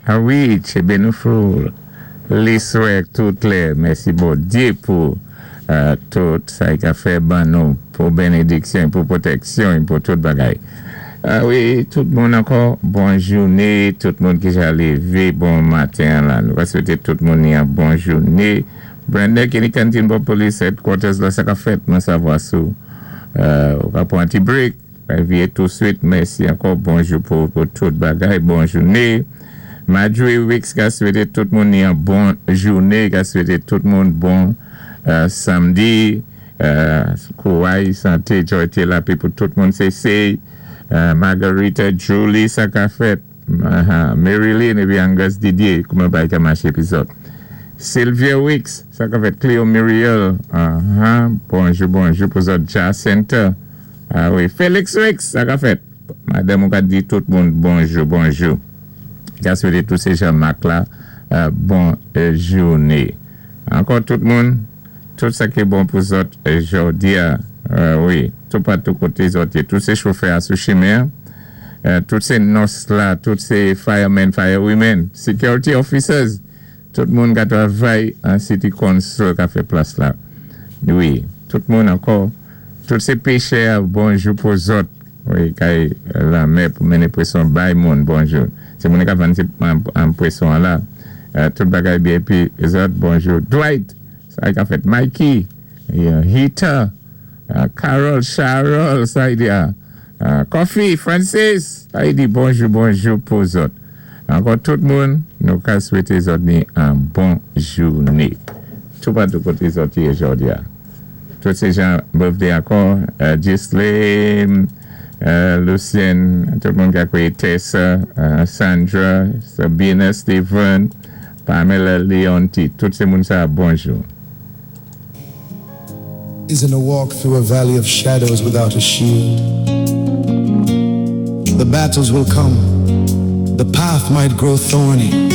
A wi, tchébé nou foul. Liswè tout lè. Mèsi Bondyé pou tout sa-y ka fè ban nou pou bénédiksyon pou pwotèksyon pou tout bagay. A wi, tout moun ankò, bon jouné, tout moun ki ja lévé bon maten la. Nou va swété tout moun ni an bon jouné. Brenda ki ni Canteen Bob Police Headquarters la sa ka fèt mwen savwa sou ou ka pwan ti break. Viyé touswit. Mèsi ankò, bonjou pou tout bagay, bon jouné. Marjorie Wicks ka swété tout moun ni an bon jouné, ka swété tout moun bon samdi. Kouway, santé, joy, lapè pou tout moun sé. Margarita, Julie, sa ka fèt. Marilyn épi Angus Didier, kouman bagay ka maché pi zòt. Sylvia Wicks, sa ka fèt. Cleo Muriel, bonjou, bonjou pou zòt. Jacinta, a wi. Félix Wicks, sa ka fèt. Madanm ou ka di tout moun bonjou, bonjou. Ka swété tout sé Jean-Marc la, bon jouné. Ankò tout moun, tout sa ki bon pou zòt jòdi a, wi, tout patou koté zòt yé, tout sé chofè a sou chimen, tout sé nurse la, tout sé firemen, firewomen, security officers, tout moun ka travay an city council ka fè plas la. Wi, tout moun ankò, tout sé péchè, bonjou pou zòt, wi, kay lanmè pou mennen pwéson bay moun, bonjou. Sé moun ka vann an pwéson la. Tout bagay byen pi zòt, bonjou. Dwight, sa ka fèt. Mikey, Hita, Carol, Charles, sa y di a. Coffee, Francis, sa y di bonjou, bonjou pou zòt. Ankò tout moun, nou ka swété zòt ni an bon jouné. Tout patou koté zòt yé jòdi a. Tout sé jan birthday ankò, Ghislaine, Lucien, tout moun ka kwé Tessa, Sandra, Sabina, Steven, Pamela, Leonti, tout sé moun sa bonjou. Isn't a walk through a valley of shadows without a shield. The battles will come. The path might grow thorny.